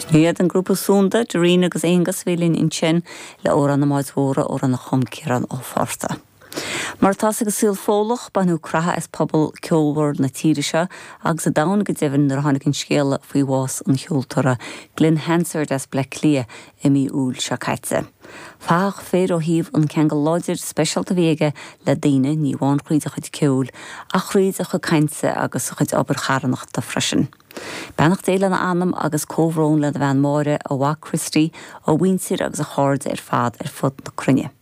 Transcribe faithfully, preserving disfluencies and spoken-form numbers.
Iad an grúpa Sunda, Doreen agus Aonghus bhí linn ansin le Amhrán na mBád Mór amhrán a chum Ciarán Ó Fátharta. Mar atá ag an saol Fódlach baineadh creathadh as pobal ceolmhar na tíre seo agus an domhain go deimhin nuair a tháinig an scéala faoi bhás an cheoltóra Glen Hansard as Bleá Cliath i mí Iúil seo caite. Fathach fir ó thaobh an ceangal láidir speisialta a bhí aige le daoine ní amháin thríd a chuid ceoil ach thríd a chuid cainte agus a chuid obair charthanachta freisin. Beannacht Dé lena anam agus comhbhrón lena bhean Máire a mhac Christy a mhuintir agus a chairde ar fad ar fud na cruinne.